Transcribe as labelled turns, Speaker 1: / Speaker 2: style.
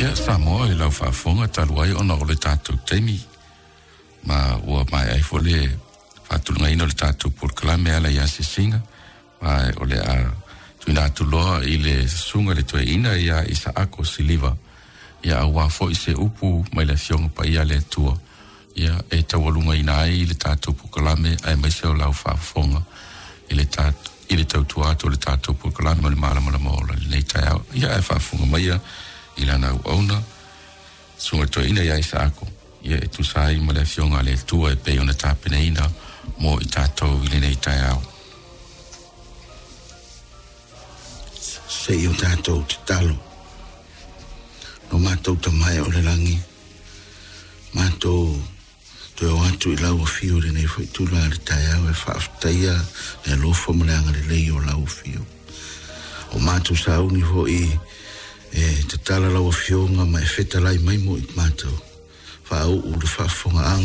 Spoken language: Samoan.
Speaker 1: Ia Samoa i lau faafofoga talu ai ona o le tatou taimi ma ua maea ai foi le faatulagaina o le tatou polokalame e ala i asiasiga ma o le a tuuina atu loa i le susuga i le toeaina ia Isaako Siliva ia aua foi se upu mai le Afioga Paia a le Atua ia e taualugaina ai le tatou polokalame aemaise o lau faafofoga i le i le tautua atu o le tatou polokalame o le Malamalama Ola i lenei taeao. Ia ae faafofoga maia i lana auauna susuga i le toeaina ia Isaako ia e tusa ai ma le Afioga a le Atua e pei ona tapenaina mo i tatou i lenei taeao.
Speaker 2: Se i o tatou tatalo. Lo matou Tama e o le lagi, matou toe o atu i lau afio i lenei foi itula i le taeao e faafetaia le alofa ma le agalelei o lau afio. O matou sauni foi e tatala lau afioga ma e fetalai mai mo i matou. Faauu le faafofogaaga.